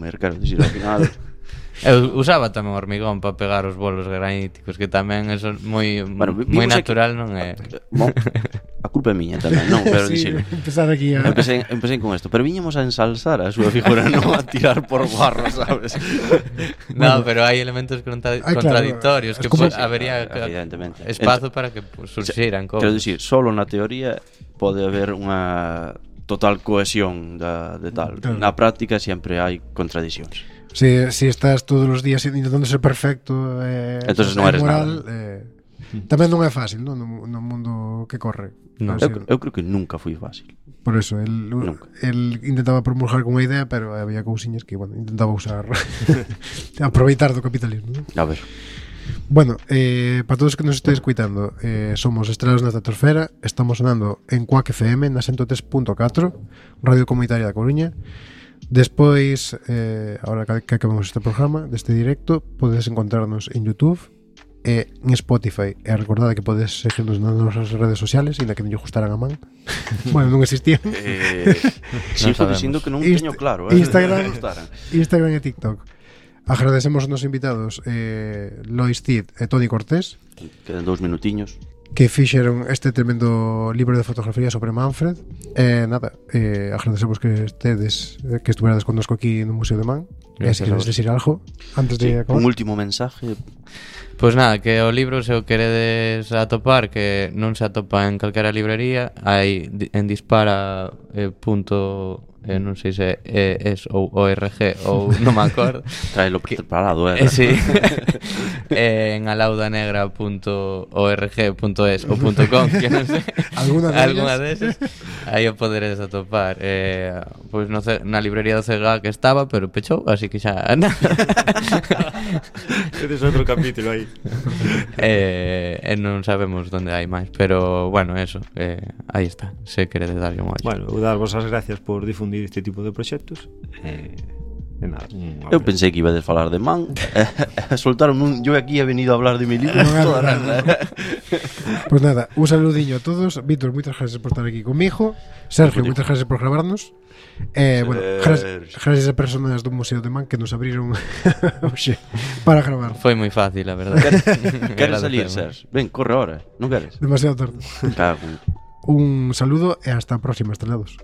comer, quero dicir, ao final. Eu usaba tamén hormigón para pegar os bolos graníticos, que tamén eso moi natural non é. Bon, a culpa é miña tamén, non, pero sí, dicir, empezar aquí a... empecé con esto, pero viñamos a ensalzar a súa figura, non a tirar por barro, sabes? No, pero hai elementos contradictorios, claro, que habería espazo para que surxiran cousas. Quero dicir, solo na teoría pode haber unha total cohesión de tal. Claro. Na práctica sempre hai contradiccións. Si estás todos os días intentando ser perfecto, entonces non eres moral, nada. Tamén non é fácil, non? No mundo que corre. No. Eu creo que nunca foi fácil. Por eso, el intentaba promulgar con unha idea, pero había cousiñas que, bueno, intentaba usar aproveitar do capitalismo, ¿no? A ver. Bueno, para todos que nos estéis escuitando, somos Estrelas na Estratosfera. Estamos sonando en Quack FM na 103.4, Radio Comunitaria da Coruña. Despois, ahora que acabamos este programa, deste directo, podedes encontrarnos en YouTube e en Spotify. E recordade que podedes seguirnos nas nosas redes sociales, ainda que non lle gustaran a man. Bueno, non existían. Sigo dicindo que non teño claro, Instagram e TikTok. Agradecemos aos nosos invitados, Lois Cid e Toni Cortés, quedan 2 minutiños, que fixeron este tremendo libro de fotografía sobre Manfred. Agradecemos que estuverades connosco aquí no Museo de Man. E se queres decir algo antes de acabar. Un último mensaje. Pois nada, que o libro, se o queredes atopar, que non se atopa en calquera librería, hai en Dispara non sei se es ou ORG ou non me acordo. Traelo preparado, sí. En alaudanegra.org.es ou .com, que non sei. Alguna deses. Aí o poderes atopar. Pois na librería do CGA que estaba, pero pechou, así que xa nada. Ese é outro capítulo aí. E non sabemos onde hai máis, pero bueno, eso, aí está, se queredes darlle un ollo. Bueno, vou dar vos as gracias por difundir este tipo de proxectos. Nada, eu pensei que iba a falar de Man. Soltaron yo aquí he venido a hablar de mi libro. Pues nada, un saludiño a todos. Víctor, moitas gracias por estar aquí conmigo. Sergio, moitas gracias por gravarnos. Bueno, gracias a personas do Museo de Man que nos abriron para gravar. Foi moi fácil, a verdade. Queres salir, Sergio? Ven, corre ahora, non queres? Demasiado tarde. Un saludo e hasta a próxima, estrelados.